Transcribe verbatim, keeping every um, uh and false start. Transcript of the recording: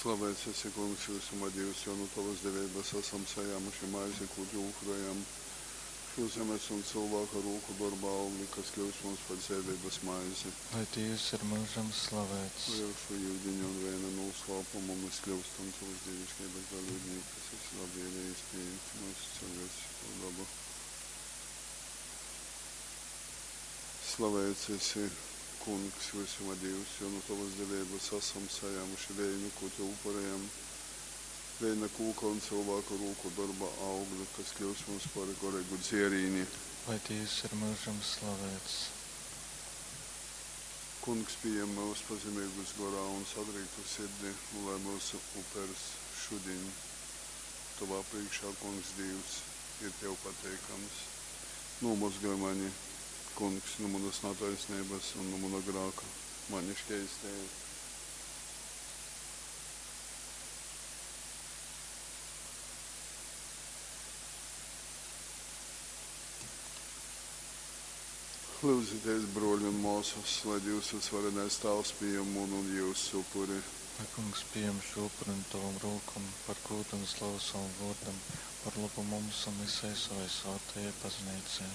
Slavēts esi, Kungs, vysuma Dīvs, jo nu tovas deveibas asam sajāmuši maizi, kū tev upurejam, šo zemes un cylvāka rūku dorba augli, kas kļyus mums par dzeiveibas maizi. Lai Dīvs ir myužam slavēts. Lai ar šo yudiņa un veina nūslāpumu mēs kļūstam tavas dīviškeibas dalībnieki, kas esi labvēlējies piejimt mūsu cilvēcisko dabu. Slavēts esi, Kungs, visuma Dīvs, jo nu tavas deveibas asam sajāmuši veinu, ko tev upurējam, veina kūka un cilvēka rūku dorba augli, kas kļūs mums par goreigu dzierīni. Lai Dīvs ir myužam slavēts. Kungs pieņem mūs pazemīgus gorā un sadrīktu sirdi, un lai mūsu upers šodien tavā priekšā, Kungs Dīvs, ir tev pateikams. Nomazgaj mani, Kungs, no manas netaisnības un no mana grāka, mani šķeistēji. Lūdzieties, broļi un māsas, lai Dievs visvarenais Tēvs pieņem manu un jūsu upuri. Lai Kungs pieņem šo upuri no tavam rokam par godu un slavu savam vārdam, par labu mums un visai savai svētajai baznīcai.